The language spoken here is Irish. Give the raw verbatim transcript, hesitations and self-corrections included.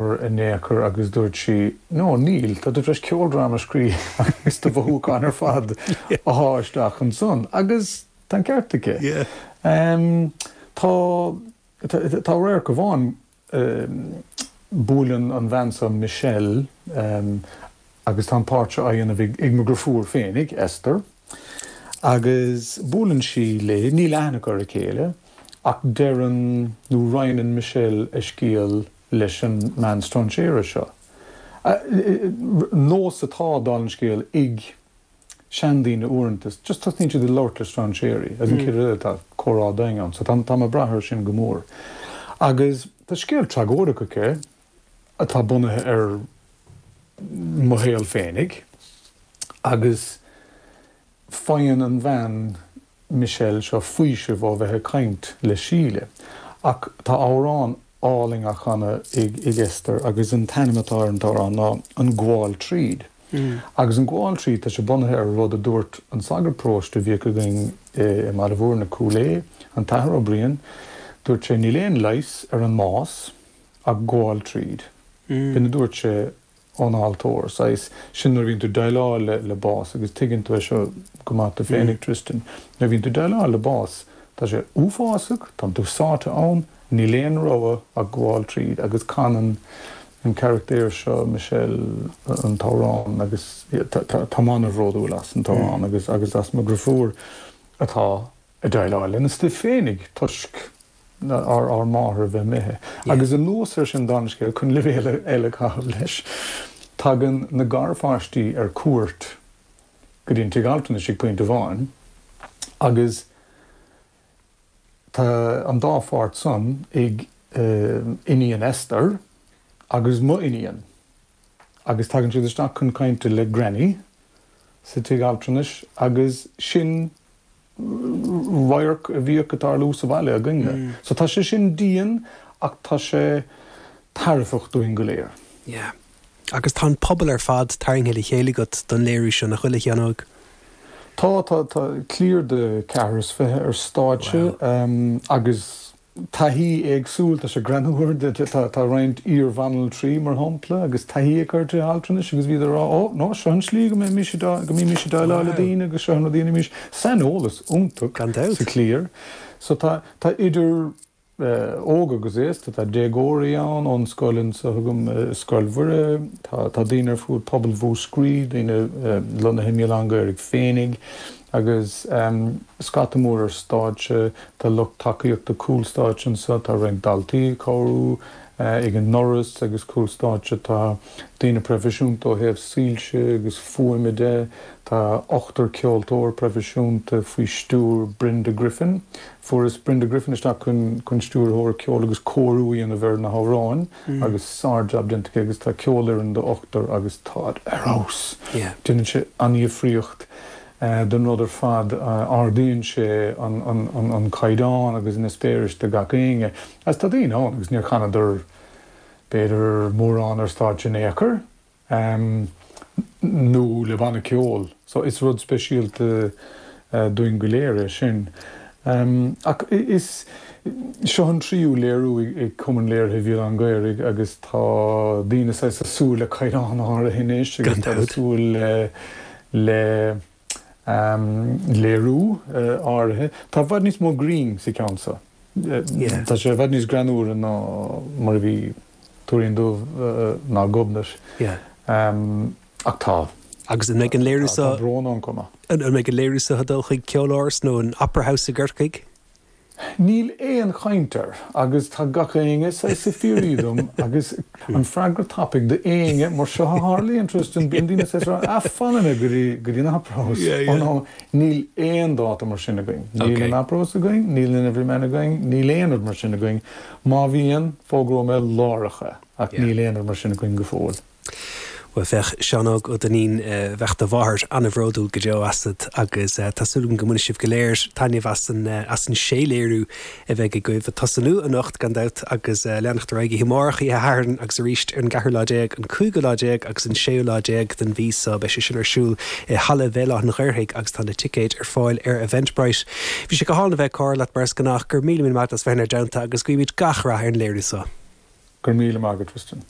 in aon chor agus dúirt sí, "No, níl, tá tú tar éis ceoldráma a scríobh agus do mhothúcháin ar fad a shá isteach ansan." Agus tá an ceart aici. Tá tá radharc amháin, buaileann an bhean seo Michelle, agus tá an páirt seo á dhéanamh ag mo dheirfiúr féinig, Esther, agus buaileann sí léi, níl aithne acu ar a chéile, ach deireann nó roinneann Michelle a scéal leis an mbean strainséara seo. Nós atá, dála an scéil, ag seandaoine uaireanta, just tosnaíonn siad ag labhairt le strainséirí, agus an chéad rud eile tá comhrá domhain ann, so tá mé ag brath air sin go mór. Agus tá scéal tragóideach aici atá bunaithe ar mo shaol féinig, agus faigheann an bhean Michelle seo faoiseamh ó bheith ag caint le Síle. Ach tá amhrán álainn á chanadh ag Esther agus an t-ainm atá ar an t-amhrán ná An Gabháil Tríd. Agus an Gabháil Tríd, tá sé bunaithe ar rud a dúirt an sagart paróiste a bhíodh againn i mBaile Mhúirne, Cúil Aodha, an tAthair Ó Briain, dúirt sé níl aon leigheas ar an mbás ach gabháil tríd. B'in a dúirt sé ón altóir, saghas, sin nuair a bhíonn tú ag déileáil le le bás agus tuigeann tú é seo go maith tú féinig, Tristan, nuair a bhíonn tú ag déileáil le bás, tá sé uafásach, tá tú sáite ann, níl aon rogha ach gabháil tríd agus canann an carachtar seo, Michelle, an t-amhrán agus tá mé an-bhródúil as an t-amhrán agus agus as mo dheirfiúr atá ag déileáil lena stuif féinig toisc ár ár máthair a bheith imithe. Agus anuas air sin, dála an scéil, chun leibhéal eile a chaitheamh leis, tagann na garpháistí ar cuairt go dtí an tigh altranais ag pointe amháin agus tá an dá pháirt san ag iníon Esther agus m'iníon agus tagann siad isteach chun cainte le Granny sa tigh altranais agus sin radharc a bhíodh ag tarlú sa bhaile againne. So tá sé sin dian ach tá sé tairbheach dúinn go léir. Yeah. Agus tá an pobal ar fad tarraingthe le chéile agat don léiriú seo, nach bhfuil, a Sheáin Óig? Tá, tá, tá cliar de ceathrar is fiche ar stáitse agus taithí éagsúil, tá sé greannmhar, tá roinnt iar-bhanaltraí, mar shampla, agus taithí acu ar tithe altranais agus bhíodar ag rá, ó, no, seo an slí go mbímís go mbímís ag déileáil le daoine agus seo an rud a dhéanaimís. Saineolas iontach sa chliar. So tá, tá idir óg agus aosta, tá déagóirí ann ón scoil anseo agam, Scoil Mhuire, tá tá daoine ar fud pobal Mhúscraí, daoine lonnaithe i mBéal Átha an Ghaorthaidh féinig agus scata mór ar stáitse, tá lucht tacaíochta cúl stáitse anseo, tá roinnt daltaí ag cabhrú ag an ndoras agus cúl stáitse, tá daoine proifisiúnta ó thaobh soilse agus fuaime de, tá ochtar ceoltóir proifisiúnta faoi stiúir Brenda Griffin. Fuaireas Brenda Griffin isteach chun chun stiúrthóir ceoil agus cóiriú a dhéanamh ar na hamhráin agus sár-jab déanta aici agus tá ceolfhoireann de ochtar agus táid ar fheabhas. Déanann sé an-dhifríocht don rud ar fad, ardaíonn sé an caighdeán agus an eispéireas do gach éinne. Agus tá daoine ann agus níor chanadar b'fhéidir mórán ar stáitse in aon chor nó le banna ceoil. So is rud speisialta dúinn go léir é sin. Ach is seo an tríú léiriú ag Cumann Léirithe Bhéal Átha an Ghaorthaidh agus tá daoine saghas ag súil le caighdeán áirithe anois agus tá ag súil le le léiriú áirithe. Tá i bhfad níos mó grinn sa cheann seo. Tá sé i bhfad níos greannmhaire ná mar a bhí Tuairín Dubh ná Gobnait. Ach tá. Agus an mbeidh an léiriú seo. Tá brón ann chomh maith. An mbeidh an léiriú seo ag dul chuig Ceoláras nó an Opera House i gCorcaigh? Níl aon chaint air agus tá gach éinne saghas ag fiafraí dom agus an freagra tapaidh d'éinne mar seo a tharlaíonn, Tristan, bíonn daoine saghas ag rá, ah fanfaidh mé go dtí go dtí an Opera House. Oh no, níl aon dáta mar sin againn. Níl an Opera House againn, níl an Everyman againn, níl aon rud mar sin againn. Má bhíonn, fógróidh mé láithreach é, ach níl aon rud mar sin againn go fóill. Bhuel, féach, Seán Óg Ó Duinnín, bheadh do mháthair an-bhródúil go deo asat agus tá súil agam go mbainfidh sibh go léir taitneamh as an as an sé léiriú a bheidh agaibh ag tosnú anocht gan dabht agus leanacht ar aghaidh oíche amárach, oíche Shathairn agus arís ar an gceathrú lá déag, an cúigiú lá déag agus an séú lá déag den mhí seo. Beidh sé sin ar siúl i Halla Bhéal Átha an Ghaorthaidh agus tá na ticéid ar fáil ar Eventbrite. Bhí sé go hálainn a bheith ag comhrá leat mar is gnách. Go raibh míle míle maith agat as bheith inár dteannta agus guímid gach rath ar an léiriú seo. Go raibh míle maith agat, Tristan.